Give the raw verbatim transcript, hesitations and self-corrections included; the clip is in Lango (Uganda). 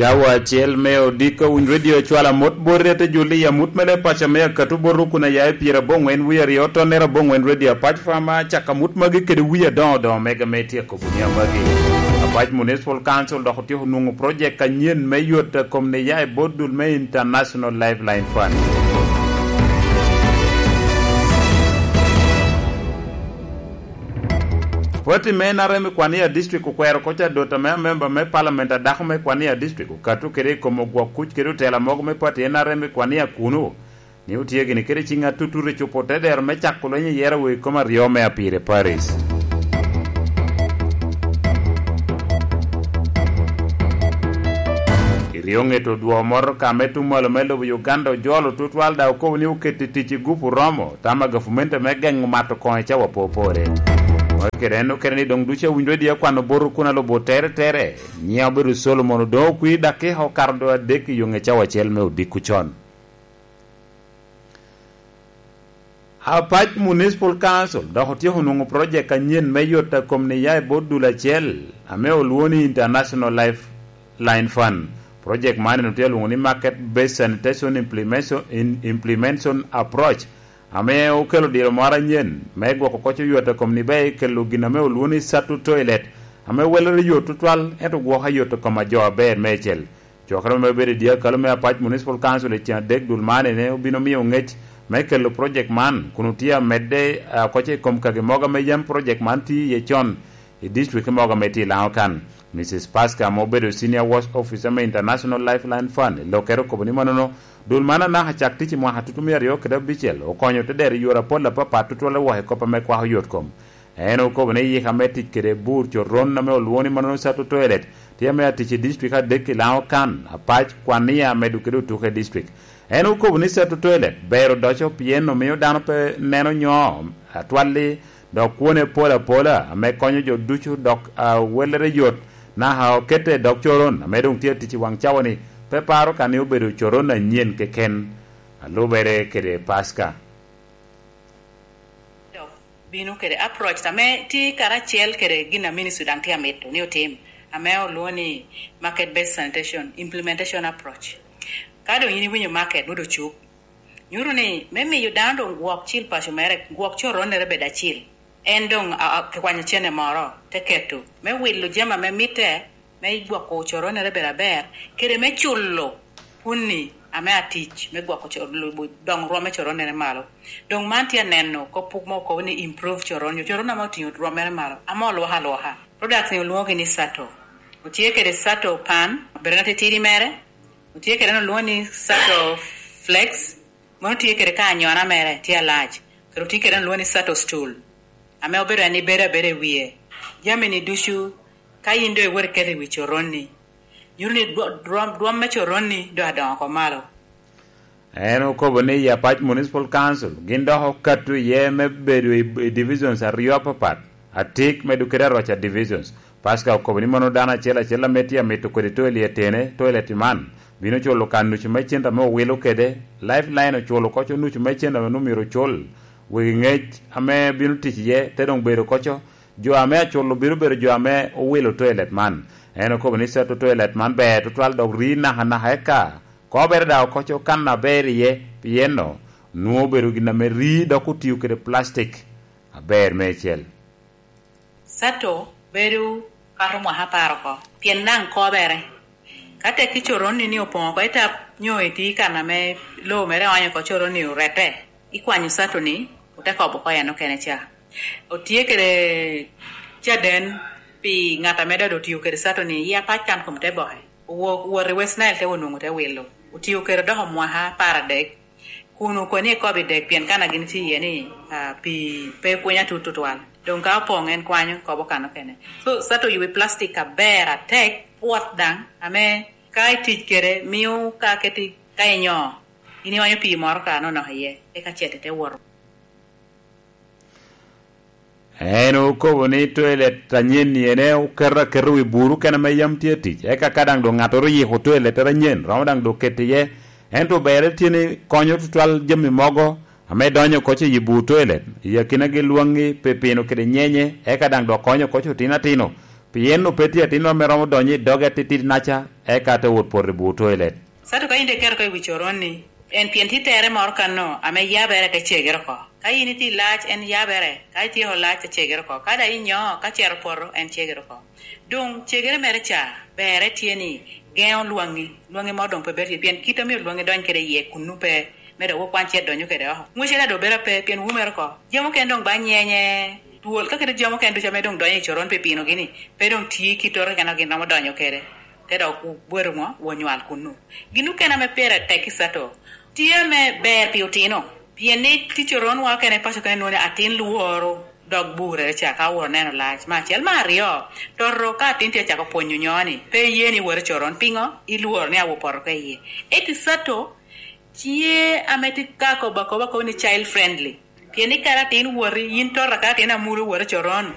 Cawa acel me odiko Winy Radio cwalo amut bot rete Julia, amut me leb paco me Akatu bot rukuna ya i pyera aboŋwen wie aryo, tonnere aboŋwen Radio Apac Fama, cako amut magi kede wie adoŋo doŋo mega me tyeko bunia magi. Apac Municipal Council dok otyeko nwoŋo project anyen me yot a kom ni ya i bot dul me International Lifeline Fund. Pati me N R M i Kwania District okwero kocca dot ame amemba me Parliament a dako me Kwania District okato kede i kom ogwok kuc kede otela mogo me pati N R M i Kwania kuno, ni otye gini kede ciŋ atutut i cupo te dero me cako lweny i yero wei kom aryo me Apire Paris. I ryo ŋet odwo motoka me tuŋ malo me lobo Uganda ojolo tutwal daŋ okobo ni oketo i tic i gupu romo tam a gavumente me geŋo mato koŋ i cawa popore. Mogo kede en okene ni doŋ ducu awinyo dye kwano bot okuna lobo tere tere, nyiŋ obedo Solomon Odoŋo Okwi, dakika okato doŋ adek i yoŋe cawa acel me odiko con. Apac Municipal Council dok otyeko nwoŋo project anyen me yot a kom ni ya i bot dul acel ame olwoŋo ni International Lifeline Fund. Project man en otye alwoŋo ni Market Based Sanitation Implementation, In-, Implementation Approach, ame okelo diro moro anyen me gwoko koc oyot a kom ni ber kelo gin ame olwoŋo ni Sato Toilet, ame welere yot tutwal, ento gwoko ayot a kom a jo aber meicel. Cokere me bedo i dyekal me Apac Municipal Council i cen adek dul man ene obino miyo ŋec me kelo project man, kun otye amedde, ah, koc i kom kagi mogo ame yam project man tye iye con i district mogo ame tye i Laŋo kan. Missus Pasca ame obedo Senior Works Officer me International Lifeline Fund i lokere okobo ni manono, dul man anaka cak tic i mwaka tutu me aryo kede abicel okonyo te dero i yore apol apapat tutwal i woko i kop ame kwako yot kom. En okobo ni yika me tic kede bur coron ame olwoŋo ni manono Sato Toilet tye ame atic i district adek i Laŋo kan, Apac, Kwania, medo kede Otuke district. En okobo ni Sato Toilet ber odoco pien omio dano pe neno nyo atwalli, dok kwone pol apola ame konyo jo ducu dok awellere yot, naka okete i dog coron ame doŋ tye atic i waŋ cawa-ni, pe paro ka ni obedo coron anyen keken. Alubere kede Pasca. Dok bino kede approach ame tye karacel kede gin a ministry daŋ tye amito ni otim, ame olwoŋo ni market based sanitation implementation approach. Ka doŋ in iwinyo market nwodo cuk, nyuto ni me miyo dano doŋ gwok cil paco mere, gwok coronnere bed acil, en doŋ a, a, kikwanyo cene moro te keto me wilo jami ame mitte me gwoko coronere bedo aber, kede me culo kunni ame atic me gwoko co-, lubo doŋ rwom me coronere malo. Doŋ man tye aneno kop puk mo okobo ni improve coron, nyo coron ame otiŋo rwommere malo, ame olwoko alwoka. Products ni olwoŋogi ni Sato. Otye kede Sato pan, bedo na titidi mere. Otye kede en olwoŋo ni Sato Flex, mano tye kede ka anyona mere tye alac, kede otye kede en olwoŋo ni Sato Stool, ame obedo en ni bedo abeda i wie. Jami-ni ducu, ka in doŋ iwot iketo i wi coronni, nyuto ni dwo-, dwom, dwom me coronni doŋ adoŋo oko malo. En okobo ni i Apac Municipal Council gin dok okato iye me bedo i, i divisions aryo apapat, Atik medo kede Aroca divisions. Pascal okobo ni mano dano acel acel ame tye amito kodi toilet ene, toilet man bino culo kan nucu me cente ame owilo kede. Lifeline oculo koco nucu me cente ame omyero ocul. Wegi ŋec ame bino tic iye te doŋ bedo koco jo ame aculo bino bedo jo ame owilo toilet man. En okobo ni Sato toilet man ber tutwal dok rii nakanaka eka kobere daŋ okoco kan aber iye, pien nwoŋo obedo gin ame rii dok otio kede plastic aber meicel. Sato bedo kato mwaka apar oko, pien daŋ kobere. Ka tek i coronni ni opoŋ oko i tap, nyo itye i kan ame lobo mere oonyo oko coronni orette, ikwanyo Sato-ni, ote kobo oko en okene ca. Otye kede caden pi ŋat ame dodo otio kede Sato-ni, i Apac kan kom te boke. Owo-, owot i West Nile te onwoŋo te wilo. Otio kede doko mwaka apar adek. Kun okoni ekobo i dek, pien kan a gin tye iye ni, ah, pii pe pwony atut tutwal. Doŋ ka opoŋ, en kwanyo kobo kan okene. So, Sato oyubo i plastic aber atek, pwot daŋ, ame ka itic kede, mio ka keti, ka inyo, in iwanyo pii moro ka nonok iye, eka cet ite woto. En okobo ni toilet anyen-ni ene oketo aketa wi buru kene ame yam tye tic, eka ka daŋ doŋ ŋattoro oyiko toilettere anyen, romo daŋ doŋ keto iye. Ento berre tye ni konyo tutwal jami mogo ame donyo koc i bur toilet, i akinagi lwaŋŋi, pipino kede nyenye, eka daŋ dok konyo koc otino atino. Pien pe tye atinno ame romo donyo i doge atitidi naca, eka te wot poto i bur toilet. Sato ka in iketo oko i wi coron-ni, en pien tye tere moro kanno ame yabere te cegere oko. Ka in itye i lac, en yabere, ka ityeko lac, te cegere oko. Ka daŋ inyo, ka cero poto, en cegere oko. Doŋ cegere mere ca, berre tye ni geŋo lwaŋi, lwaŋi moro doŋ pe bedo tye, pien kit omio lwaŋi dony kede iye kunnu pe, me dok wukwan ce donyo kede oko. Ŋwecere doŋ bedo ape, pien wumere oko. Jami okene doŋ ba nyenye, twol, ka kede jami okene ducu ame doŋ donyo i coron pi pinogi ni, pe doŋ tye kit oro keken a gin romo donyo kede, te dok wubedo ŋo, wonywal kunnu. Gin okene ame pire tek i Sato, tye ame ber pi otino, pien ni tye coronwa okene i paco kene nwoŋo ni atin lworo dog burere ca ka owoto neno lac. Me acel. Me aryo, toto ka atin tye acako pwonyo nyo ni pe iye ni wot i coron, piŋo? Ilworo ni awo poto ka iye. Ento i Sato, tye ame tye ka kobo akoba kobo ni child friendly. Pien ni kara atin woti, yin tota ka atin amuru wot i coron,